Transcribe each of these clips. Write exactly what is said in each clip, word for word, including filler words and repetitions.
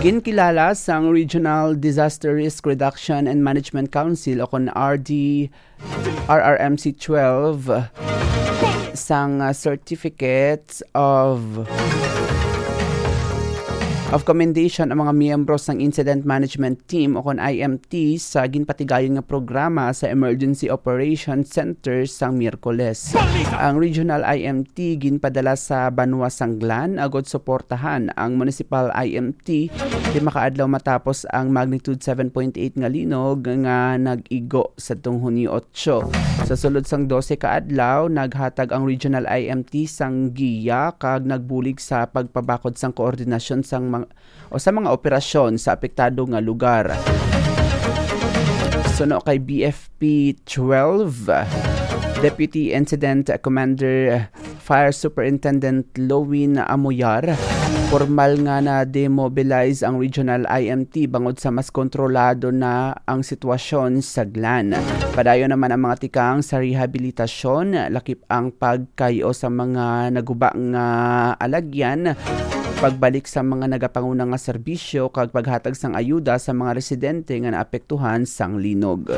Ginkilala sang Regional Disaster Risk Reduction and Management Council o kon R D, R R M C twelve sang, ah, Certificates of, of Commendation ang mga miyembro sang Incident Management Team o kon I M T sa ginpatigayon nga programa sa Emergency Operations Center sang Miyerkules. Ang Regional I M T ginpadala sa banwa sang Glan agud suportahan ang Municipal I M T lima ka adlaw matapos ang magnitude seven point eight nga linog nga nag-igo sadtong Hunyo otso. Sa sulod sang dose ka adlaw, naghatag ang Regional I M T sang giya kag nagbulig sa pagpabakod sang koordinasyon sang mga, o sa mga operasyon sa apektado nga lugar. Suno kay B F P twelve, Deputy Incident Commander Fire Superintendent Lowin Amoyar, formal nga na-demobilize ang Regional I M T bangod sa mas kontrolado na ang sitwasyon sa Glan. Padayon naman ang mga tikang sa rehabilitasyon, lakip ang pagkayo sa mga naguba nga alagyan, pagbalik sa mga nagapanguna nga serbisyo, kag paghatag sang ayuda sa mga residente nga naapektuhan sang linog.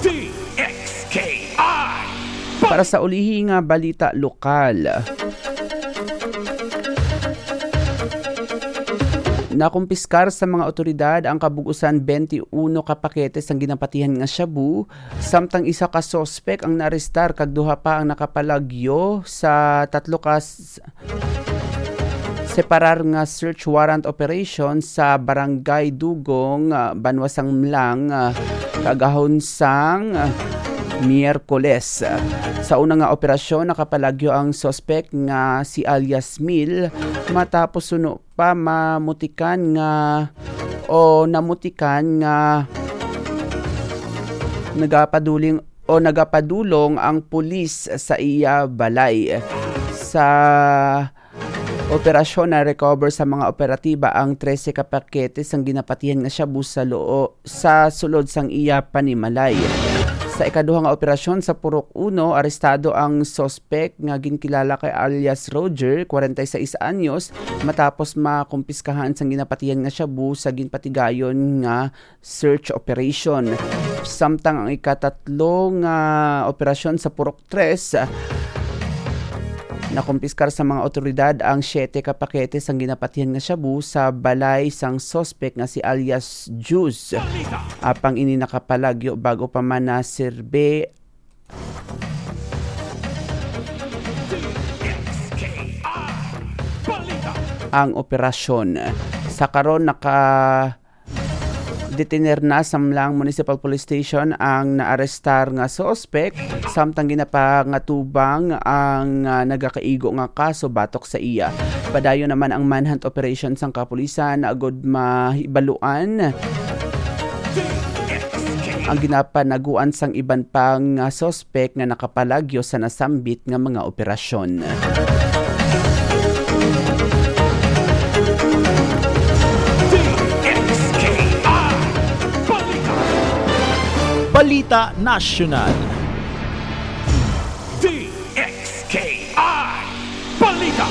D X K I. Para sa ulihi nga balita lokal, nakumpiskar sa mga awtoridad ang kabug-usan twenty-one ka pakete sang ginapatihan nga shabu, samtang isa ka suspek ang naarestar kag duha pa ang nakapalagyo sa tatlo ka s-, separar nga search warrant operation sa Barangay Dugong, ah, Banwa sang Mlang, ah, kaagahon sang, ah, Miyerkules. Sa una nga operasyon, nakapalagyo ang suspek nga si alias Mil matapos suno pa mamutikan nga, o namutikan nga nagapaduling o nagapadulong ang pulis sa iya balay. Sa operasyon, na-recover sa mga operatiba ang trese ka pakete sang ginapatihan nga shabu sa loo-, sa sulod sang iya panimalay. Sa ikaduha nga operasyon sa Purok Uno, arestado ang suspek nga ginkilala kay alias Roger, kwarenta y seis anyos, matapos makumpiskahan sang ginapatihan nga shabu sa ginpatigayon nga search operation. Samtang ang ikatatlo nga operasyon sa Purok Tres, nakumpiskar sa mga awtoridad ang siyete ka pakete sang ginapatihan nga shabu sa balay sang suspek nga si alias Juice. Apang ini nakapalagyo bago pa man naserbe ang operasyon. Sa karon, naka-detener na sa Mlang Municipal Police Station ang naarestar nga suspek, samtang ginapangatubang ang, ah, nagakaigo nga kaso batok sa iya. Padayon naman ang manhunt operation sang kapulisan agud mahibaluan ang ginapanaguan sang iban pa nga suspek nga nakapalagyo sa nasambit nga mga operasyon. D X K I Balita. Balita Nasyonal. D X K I Balita.